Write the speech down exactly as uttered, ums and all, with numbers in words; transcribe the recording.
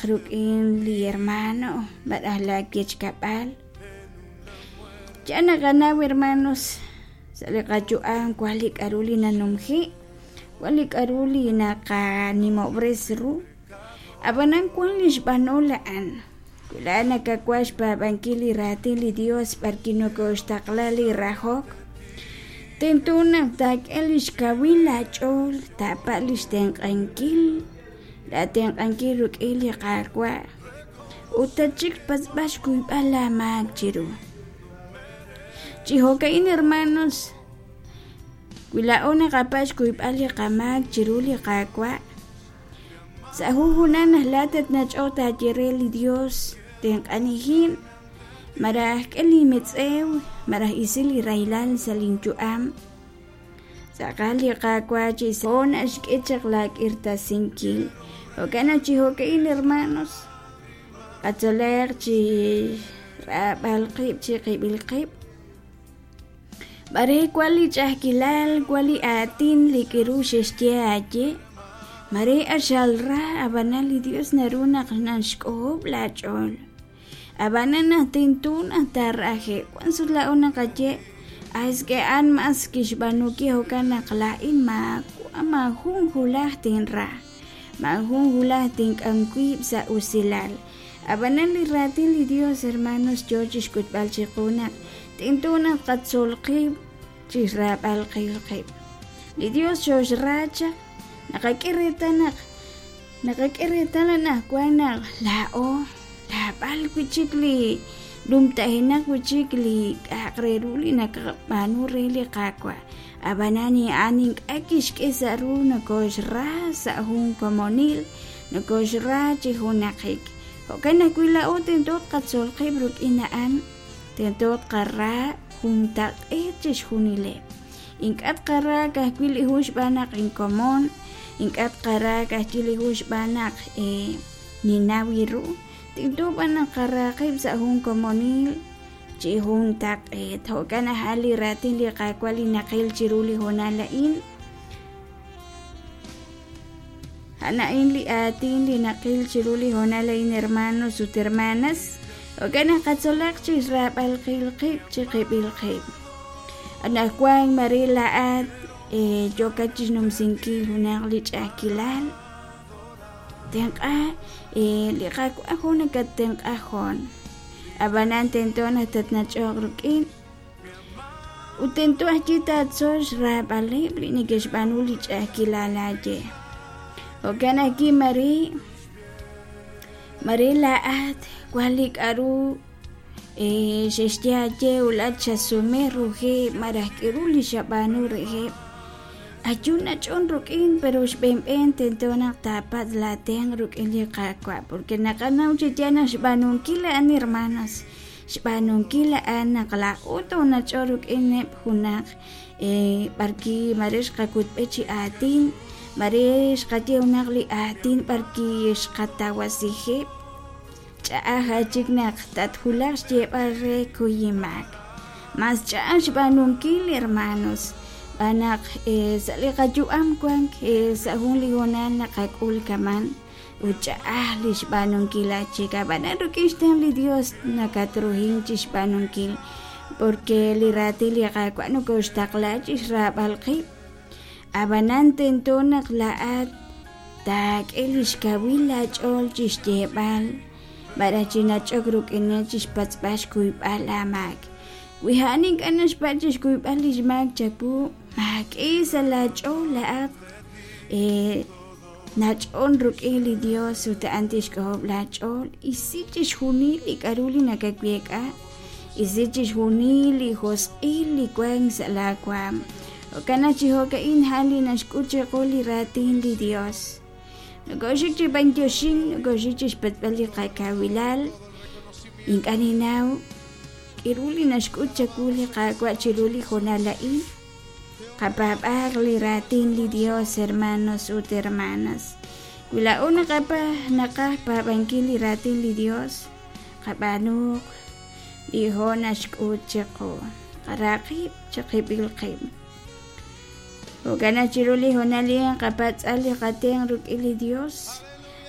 Ruk'in li hermano maraj la kechkab'al ya naqanaw hermanos sa' li qayu'am wan li k'aru li nanumji' wan li k'aru li naqanimob'res ru ab'anan wan li xb'anol a'an wi laa'at nakawaj xpaab'ankil li raatin li Dios b'arki nokoxtaqla li rahok tento naq taak'e li xkawil laach'ool taapa' li xtenq'ankil la tenq'ankil ruk'in li Qaawa' ut tatxik xpatz'b'al xkuyb'al laamaak chiru chi jo'ka'in hermanos wi laa'o naqapatz' xkuyb'al li qamaak chiru li Qaawa' sa' junjunal naq laa'at tatnach'oq taaye re li Dios tenq'anijin maraj k'e linmetz'ew maraj isi li rahilal sa' linyu'am tz'aqal li Qaawa' chi naxk'e chaq laak'irtasinkil jo'kan naq chi jo'ka'in hermanos qatzolaq chi raab'al qib' chi qib'il qib' b'are wan li ch'a'ajkilal wan li aatin li k'iru xexye aaye mare axal ra ab'anan li Dios naru naq naxk'ojob' laach'ool ab'anan naq tento naq taaraje' wan sut laa'o naqaye es que a'an mas kixb'aanu ke jo'kan naq laa'in maawa' maajun wulaj tinra maajun wulaj tink'am wiib' sa' usilal ab'anan li raatin li Dios hermanos yoo chixk'utb'al chiqu naq tento naq qatzol qib' chixraab'al qil qib' li Dios xoxra chaq naqak'e reetal naq naqak'e reetal anaqwan naq laa'o laab'al wi' chik li numtajenaq wi' chik li k'a'aq re ru li naqab'aanu re li Qaawa' ab'anan a'an ink'a' kixk'e sa' ru nokoxra sa' jun komonil nokoxra chi junaqik jo'kan ajwi' laa'o tento tqatzol qib' ruk'in a'an tento tqara juntaq'eet chixjunileb' ink'a' tqara ka'ajwi' li jun xb'aan naq inkomon ink'a' tqara ka'ajwi' li jun xb'aan naq ninaw ru tento b'an naq qara qib' sa' jun komonil chi juntaq'eet jo'kan a'an li raatin li Qaawa' li naqil chiru li hoonal a'in a'an a'in li aatin li naqil chiru li hoonal a'in hermanos ut hermanas jo'kan naq qatzolaq chi xraab'al qil qib' chi qib'il qib' anaqwan mare laa'at yookat chixnumsinkil junaq li ch'a'ajkilal tenq'a li Qaawa' jun nakattenq'a joon ab'anan tento naq tatnach'oq ruk'in ut tento ajwi' taatzol xraab'aleb' li neke'xb'aanu li ch'a'ajkilal aaye jo'kan ajwi' mare mare laa'at wan li k'aru xexye aaye ut xasume rujeb' maraj k'aru li xab'aanu reheb' ayu nach'on ruk'in pero xb'enb'en tento naq taapatz' laatenq' ruk'in li Qaawa' porque naqanaw chi yaal naq xb'aanunkil a'an hermanos xb'aanunkil a'an naq laa'o toonach'o ruk'ineb' junaq b'arki mare xqakutb'e chi aatin mare xqaye junaq li aatin b'arki xqatawasijeb' ch'a'aj achik naq tatwulaq xyeeb'al re kuyimaak mas ch'a'aj xb'aanunkil hermanos b'an naq sa' li qayu'am wan sa' jun li hoonal naqak'ul kaman ut ch'a'aj li xb'aanunkil achik ab'anan ruk'in xtenq' li Dios nakatruhin chixb'aanunkil porque li raatin li Qaawa' nokoxtaqla chixraab'al qib' ab'anan tento naq laa'at taak'e li xkawil laach'ool chixyeeb'al maraj chinach'ok ruk'ineb' chixpatz'b'al xkuyb'al aamaak wi a'an ink'a' naxpatz' chixkuyb'al li xmaak chawu maak'e sa' laach'ool laa'at nach'on ruk'in li Dios ut a'an tixk'ojob' laach'ool isi chixjunil li k'aru li nakaweek'a isi chixjunil li josq'il li wank sa' laawaam jo'kan naq chi jo'ka'in a'an li naxk'ut chiqu li raatin li Dios nokoxik chi b'antioxink nokoxik chi xpatz'b'al li qakawilal ink'a' ninnaw k'aru li naxk'ut chawu li Qaawa' chiru li hoonal a'in qapaab'aaq li raatin li Dios hermanos ut hermanas wi laa'o naqapa naqaj paab'ankil li raatin li Dios qab'aanuuq li ho' naxk'ut chiqu qara qib' chi qib'il qib' jo'kan naq chiru li hoonal a'in qapatz'al li qatenq' ruk'in li Dios